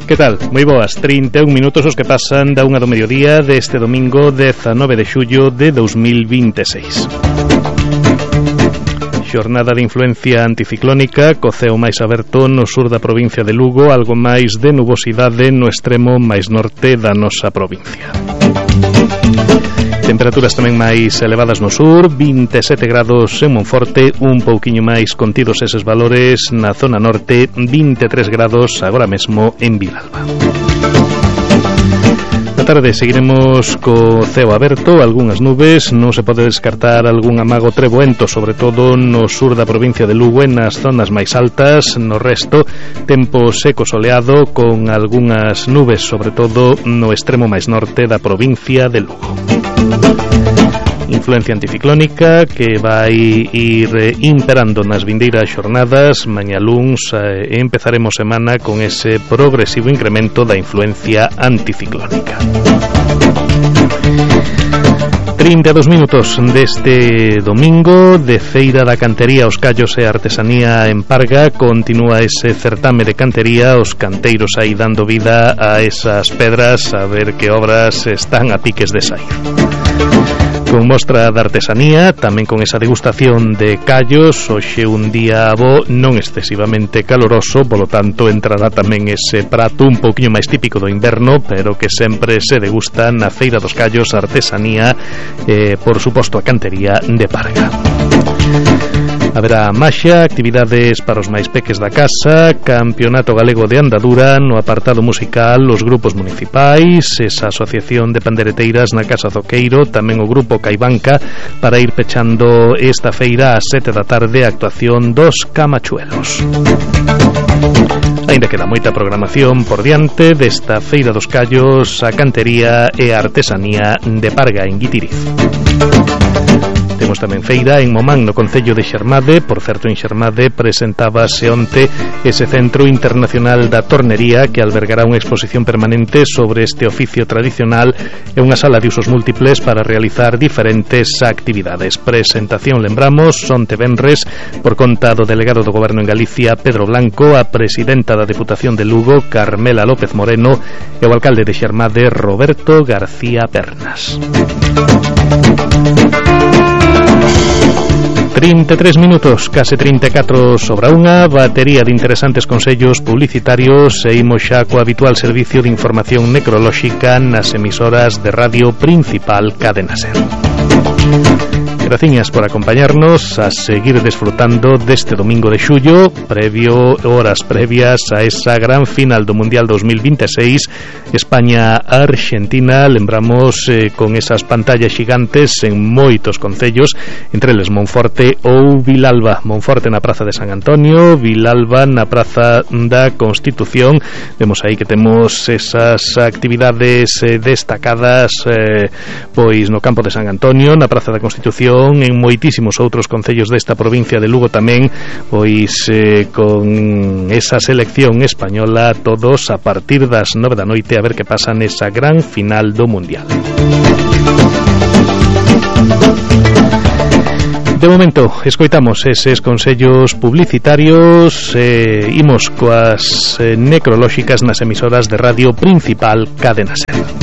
Que tal? Moi boas, 31 minutos os que pasan da 1 do mediodía deste domingo 19 de xullo de 2026. Xornada de influencia anticiclónica, co ceo máis aberto no sur da provincia de Lugo, algo máis de nubosidade no extremo máis norte da nosa provincia. Temperaturas tamén máis elevadas no sur, 27 grados en Monforte, un pouquiño máis contidos eses valores na zona norte, 23 grados agora mesmo en Vilalba. Na tarde seguiremos co ceo aberto, algunhas nubes, non se pode descartar algún amago treboento, sobre todo no sur da provincia de Lugo, nas zonas máis altas, no resto, tempo seco soleado, con algunhas nubes, sobre todo no extremo máis norte da provincia de Lugo. Influencia anticiclónica que vai ir imperando nas vindeiras xornadas. Mañá luns empezaremos semana con ese progresivo incremento da influencia anticiclónica. 32 minutos deste domingo de Feira da Cantería, os Callos e Artesanía en Parga. Continúa ese certame de cantería, os canteiros aí dando vida a esas pedras, a ver que obras están a piques de sair. Con mostra de artesanía, tamén con esa degustación de callos, hoxe un día bo non excesivamente caloroso, polo tanto entrará tamén ese prato un pouquiño máis típico do inverno, pero que sempre se degusta na Feira dos Callos, artesanía, por suposto a cantería de Parga. Haberá maxia, actividades para os máis peques da casa, campeonato galego de andadura, no apartado musical os grupos municipais, esa asociación de pandereteiras na Casa Zoqueiro, tamén o grupo Caibanca, para ir pechando esta feira ás 7 da tarde, a actuación dos Camachuelos. Ainda queda moita programación por diante desta Feira dos Callos, a cantería e a artesanía de Parga en Guitiriz. Temos tamén feira en Momán, no concello de Xermade. Por certo, en Xermade presentábase onte ese Centro Internacional da Tornería, que albergará unha exposición permanente sobre este oficio tradicional e unha sala de usos múltiples para realizar diferentes actividades. Presentación, lembramos, onte venres, por conta do delegado do Goberno en Galicia, Pedro Blanco, a presidenta da Deputación de Lugo, Carmela López Moreno, e o alcalde de Xermade, Roberto García Pernas. 33 minutos, case 34 sobre unha, batería de interesantes consellos publicitarios e imos xa co habitual servicio de información necrolóxica nas emisoras de radio principal Cadena Ser. Graciñas por acompañarnos, a seguir desfrutando deste domingo de xullo, horas previas a esa gran final do Mundial 2026, España-Argentina. Lembramos con esas pantallas xigantes en moitos concellos, entre eles Monforte ou Vilalba. Monforte na Praza de San Antonio, Vilalba na Praza da Constitución. Vemos aí que temos esas actividades destacadas pois no campo de San Antonio, na Praza da Constitución, en moitísimos outros concellos desta provincia de Lugo tamén, pois con esa selección española, todos a partir das 9 da noite, a ver que pasa nesa gran final do Mundial. De momento, escoitamos eses consellos publicitarios, imos coas necrolóxicas nas emisoras de radio principal Cadena Ser.